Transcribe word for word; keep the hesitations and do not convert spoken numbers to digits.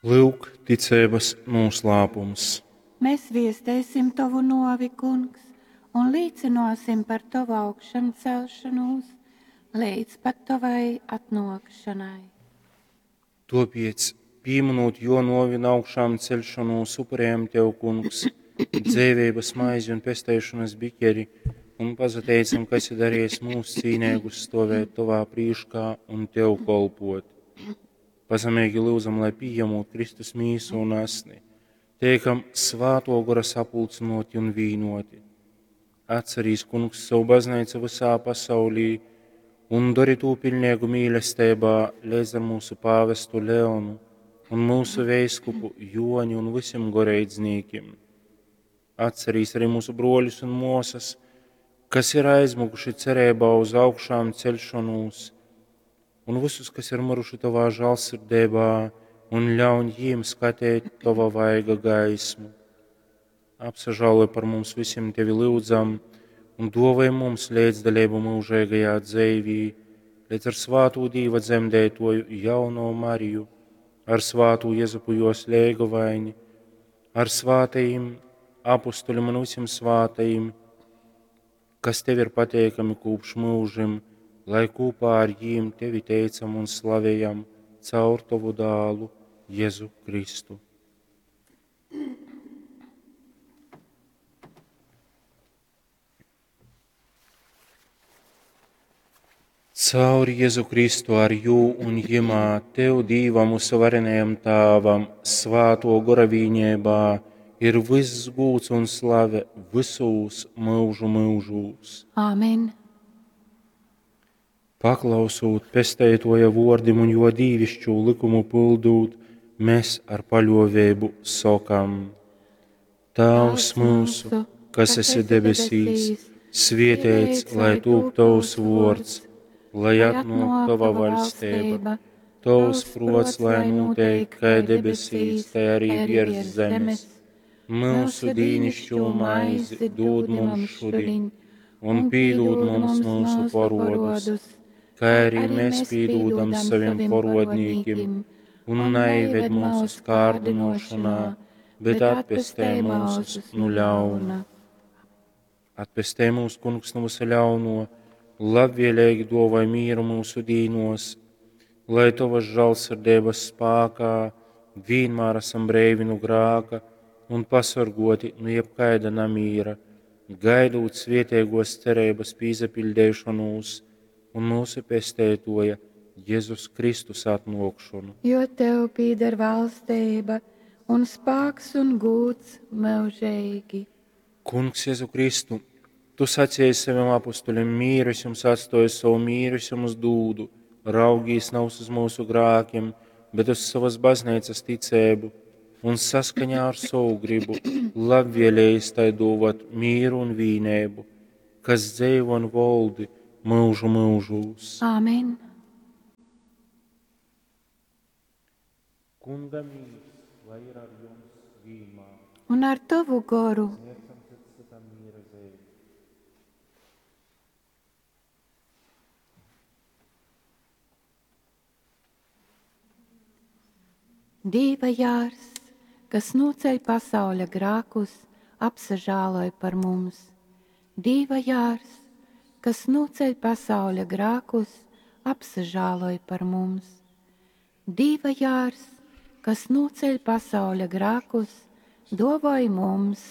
Lyuk, ticeibas nūslāpums. Mēs viesteisim tovu nuovi, Kungs, un līcynuosim par tovu augšancelšonūs leidz pat tovai atnuokšonai. Tuopiec, pīmynūt juo nuovi un augšām ceļšonūs, upurējam tev, Kungs, dzeiveibas maizi un pesteišonas bikeri un pasateicam, ka esi darījis mūs cīneigus stovēt tovā prīškā un tev kolpot. Pazemeigi lyudzam, lai pījemūt Kristus mīsu un asni, teikam Svātuo Gora sapulcynoti un vīnoti. Atcerīs, Kungs, savu bazneicu visā pasaulī un dori tū piļneigu mīlesteibā leidz ar mūsu pāvestu Leonu un mūsu veiskupu Joni un visiem goreidznīkim. Atcerīs arī mūsu bruoļus un muosas, kas ir aizmukuši cereibā uz augšām ceļšanos, un visus, kas ir miruši tovā žālsirdībā, un ļauj jiem skatēt tova vaiga gaismu. Apsažāloj par mums visiem tevi lyudzam, un dovai mums līdzdalību mūžīgajā dzeivī, līdz ar svātū Dīva dzemdētoju jauno Mariju, ar svātū Jezupu jos leigovaini, ar svātajiem apustuļiem un visiem svātajiem, kas tev ir pateikami kopš mūžim, lai kopā ar jiem tevi teicam un slavējam caur tovu dālu Jēzu Kristu. Caur Jēzu Kristu ar jū un jimā, tev, Dīvam, mūsu varenajam Tāvam, svāto gora vīņībā, ir viss gūds un slave visūs mūžu mūžūs. Āmen. Paklausūt pesteitoja vordim un jo dīvišķū likumu pildūt, mēs ar paļovēbu sokam: Tāvs mūsu, kas esi debesīs, svietēts, lai tūp tavs vords, lai atnāk tava vaļstība, tavs prots, lai notiek, kā debesīs, tai arī virs zemes. Mūsu dīnišķo maizi dod mums šodien, un pīdod mums mūsu parodus, kā arī mēs pīdodam saviem parodnīkim, un neived mūsu kārdinošanā, bet atpestē mūsus nu ļauna. Atpestē mūs, Kungs, no visa ļauno, labvēlīgi dovai mieru mūsu dīnos, lai tavas žālsirdības spākā vienmēr esam breivi no grāka un pasargoti no jebkaida namīra, gaidot svietēgos cerības pīzapildēšanos un mūsu pestētoja Jēzus Kristus atnākšanu. Jo tev pīder valstība un spāks un gūds mūžīgi. Kungs Jēzu Kristu, tu sacīji saviem apustuļiem, mīru es jums atstāju, savu mīru es jums dūdu, raugīs nav uz mūsu grākiem, bet uz savas baznīcas ticēbu, un saskaņā ar savu gribu labvēlējis tai dovat mīru un vīnēbu, kas dzeivo un voldi mūžu mūžūs. Āmen. Kunga mīrs, lai ir ar jums vienmēr. Un ar tavu goru. Sniedzam cits citam miera zīmi. Dīva jārs, kas noceļ pasauļa grākus, apsažāloj par mums. Dīva jārs, kas noceļ pasauļa grākus, apsažāloj par mums. Dīva jārs, kas noceļ pasauļa grākus, dovoj mums